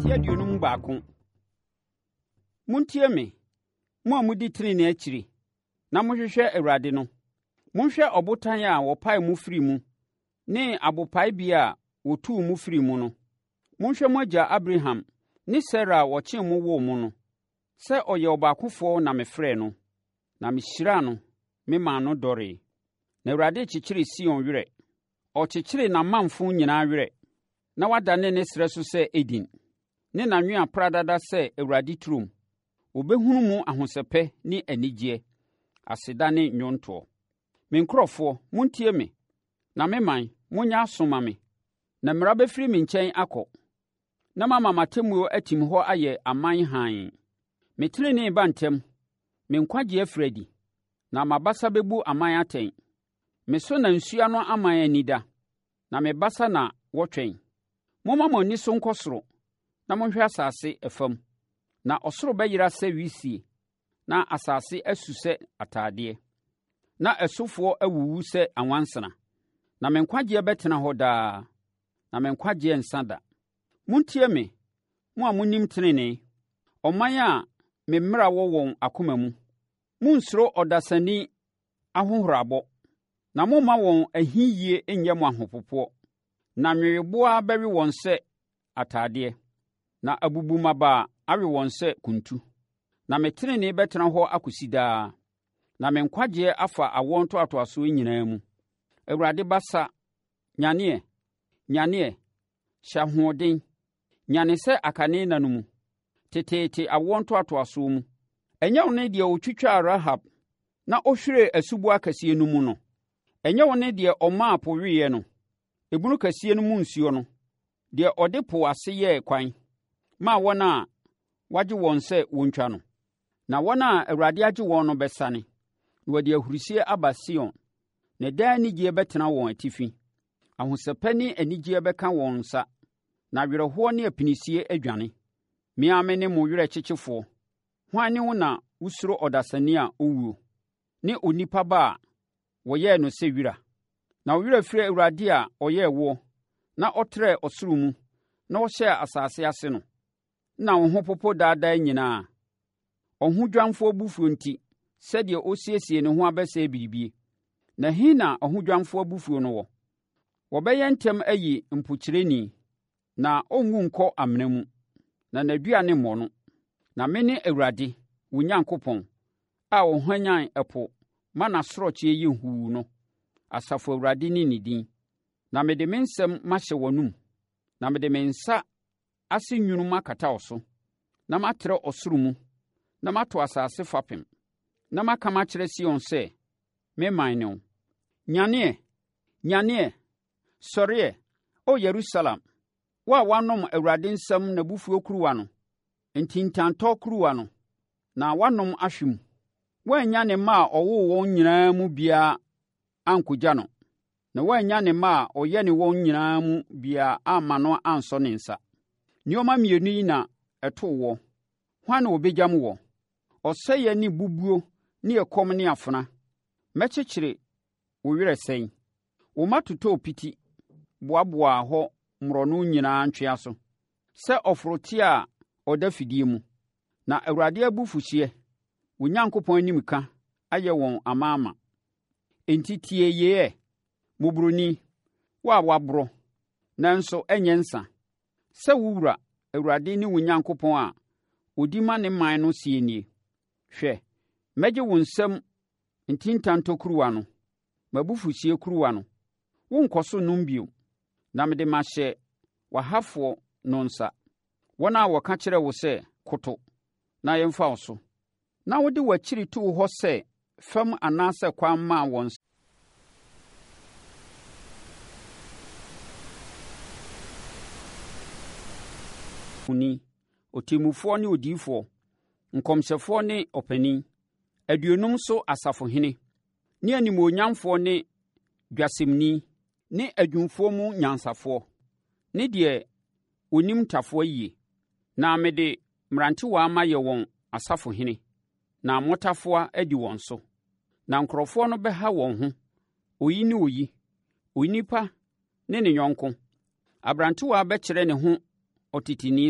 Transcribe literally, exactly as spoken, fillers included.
Ti aduonum baako. Montie me, mo a mudi trenee akyiri na mohwehwɛ Awurade no. Monhwɛ ɔbotan a wɔpaee mo firii mu ne abopaebea a wɔtuu mo firii mu no. Monhwɛ mo agya Abraham ne Sara a wɔkyem mo woo mo no. Sɛ ɔyɛ ɔbaakofoɔ na mefrɛɛ no, na mehyiraa no memaa no dɔree. Na Awurade rekyekyere Sion werɛ. Ɔrekyekyere n'amamfo nyinaa werɛ, na wadane ne serɛ so sɛ Eden, ne n'anwea pradada sɛ Awurade turom. Wɔbɛhunu mu ahosɛpɛ ne anigyeɛ, aseda ne nnwontoɔ. Me nkurɔfoɔ, montie me, na me man, monyɛ aso mma me. Na mmara bɛfiri me nkyɛn akɔ, na mama m'atemmuo atim hɔ ayɛ aman hann. Me tenenee ba ntɛm, me nkwagyeɛ afiri adi, na m'abasa bɛbu aman atɛn. Me so na nsuano aman ani da, na me basa na wɔtwɛn. Momma mo ani so nkɔ soro, na monhwɛ asase fam, na ɔsoro bɛyera sɛ wisie, na asase asu sɛ atadeɛ, na ɛsofoɔ awuwu sɛ anwansena. Na me nkwagyeɛ bɛtena hɔ daa, na me nkwagyeɛ rensa da. Montie me, mo a monim tenenee, ɔman a me mmara wɔ wɔn akoma mu. Monnsuro ɔdasani ahohorabɔ, na mommma wɔn ahiyie nnyɛ mo ahopopoɔ. Na nweweboaa bɛwe wɔn sɛ atadeɛ, na abubummabaa awe wɔn sɛ kuntu. Na me tenenee bɛtena hɔ akɔsi daa, na me nkwagyeɛ afa awoɔ ntoatoasoɔ nyinaa mu. Awurade basa, nyane ɛ, nyane ɛ, hyɛ ahoɔden! Nyane sɛ akane nna no mu, teteete awoɔ ntoatoasoɔ mu. Ɛnyɛ wo ne deɛ ɔtwitwaa Rahab na ɔhwiree asuboa kɛseɛ no mu no? Ɛnyɛ wo ne deɛ ɔmaa po weeɛ no, ebunu kɛseɛ no mu nsuo no, deɛ ɔde po ase yɛɛ kwan maa wɔn a wɔagye wɔn sɛ wɔntwa no? Na wɔn a Awurade agye wɔn no bɛsane, na wɔde ahurisie aba Sion, na daa anigyeɛ bɛtena wɔn atifi. Ahosɛpɛ ne anigyeɛ bɛka wɔn nsa, na awerɛhoɔ ne apinisie adwane. Me ara mene mo werɛkyekyefoɔ. Hwan ne wo na wosuro ɔdasani a ɔwuo, ne onipa ba a wɔyɛɛ no sɛ wira? Na wo werɛ afiri Awurade a ɔyɛɛ woɔ, na ɔtrɛɛ ɔsoro mu, na ɔhyɛɛ asase ase no? Na wo ho popo daa daa nyinaa, ɔhodwanfoɔ abufuo nti, sɛdeɛ ɔsiesie ne ho abɛsɛe biribie. Na ɛhe na ɔhodwanfoɔ abufuo no wɔ? Wɔbɛyɛ ntɛm ayi mpokyerɛni, na ɔrenwu nkɔ amena mu, na n'aduane remmɔ no. Na mene Awurade, wo Nyankopɔn, a ɔhwanyan ɛpo ma n'asorɔkyeɛ yɛ huu no, Asafo Awurade ne ne din. Na mede me nsɛm mahyɛ w'anom, na mede me nsa ase nwunu makata wo so, na matrɛ ɔsoro mu, na mato asase fapem, na maka makyerɛ Sion sɛ, 'Me man ne wo.' Nyane ɛ, nyane ɛ, sɔre ɛ, O Yerusalem, wo a woanom Awurade nsam n'abufuo kuruwa no, ntintantɔ kuruwa no, na woanom ahwe mu. Woannya ne mma a ɔwoo wɔn nyinaa mu biara ankɔgya no, na woannya ne mma a ɔyɛne wɔn nyinaa mu biara amma no ansɔ ne nsa. Nneɛma mmienu yi na ɛtoo woɔ, hwan na ɔbɛgyam woɔ? Ɔsɛeɛ ne bubuo ne ɛkɔm ne afena. Mɛkyekyere wo werɛ sɛn? Wo mma totɔɔ piti boaboaa hɔ mmorɔno nyinaa ntweaso sɛ ɔforoteɛ a ɔda fidie mu. Na Awurade abufuhyeɛ, wo Nyankopɔn animka ayɛ wɔn amaama. Enti tie yei ɛ, mmɔborɔni, wo a woaborɔ, nanso ɛnyɛ nsã, sɛ wo wura, Awurade ne wo Nyankopɔn a ɔdi ma ne man no seɛ nie, Hwɛ, mɛgye wo nsam ntintantɔ kuruwa no, m'abufuhyeɛ kuruwa no, worenkɔ so nnom bio, na mede mahyɛ w'ahafoɔ no nsa, wɔn a wɔka kyerɛɛ wo sɛ, 'Koto, na yɛmfa wo so, na wode w'akyiri too hɔ sɛ fam anaasɛ kwan maa wɔn Ni, ɔtemmufoɔ ne odiyifoɔ, nkɔmhyɛfoɔ ne ɔpanin, aduonum so asafohene, ne animuonyamfoɔ ne dwasemni, ne adwumfoɔ mu nyansafoɔ, ne deɛ ɔnim ntafowa yie. Na mede mmerantewaa mayɛ wɔn asafohene, na mmotafowa adi wɔn so. Na nkurɔfoɔ no bɛha wɔn ho, oyi ne oyi, onipa ne ne yɔnko. Aberantewaa bɛkyerɛ ne ho ɔteteni